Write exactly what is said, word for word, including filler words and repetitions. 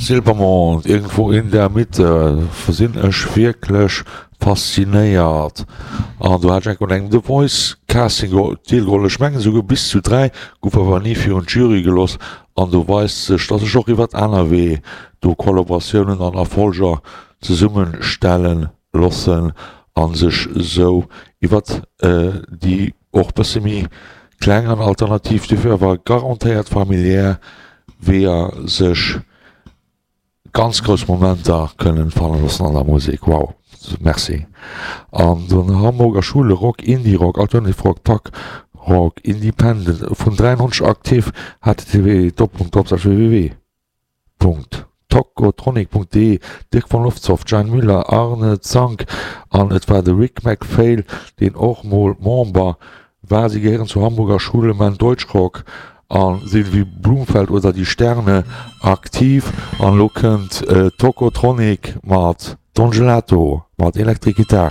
Silbermond, Irgendwo in der Mitte, sinn ech wierklech faszinéiert. An do hat ech enk un engem The Voice Casting deelgeholl, ech mengen esouguer bis zu dräi, gouf awer ni virun d'Jury gelooss. An do weist sech, dass sech och iwwert aner Wee do Kollaboratiounen an Erfolger zesummenstellen loossen a sech esou iwwert déi och bësse méi kleng an alternativ, dofir awer garantéiert familiär Weeër sech ganz grouss Momenter kënnen fannen loossen an der Musek. Wow, merci. An den Hamburger Schule Rock, Indie Rock, Alternative Rock, Punk Rock, Independent, vun dräiundneunzeg aktiv, http Doppelpunkt www. Tocotronic Punkt de, Dirk von Loftshoff, Jan Müller, Arne Zank an et war de Rick McPhail, deen och mol Member war. Si gehéieren zur Hamburger Schule, man Deutschrock a sinn wéi Blumfeld oder Die Sterne aktiv. An elo kënnt Tocotronic mat Don Gelato mat Electric Guitar.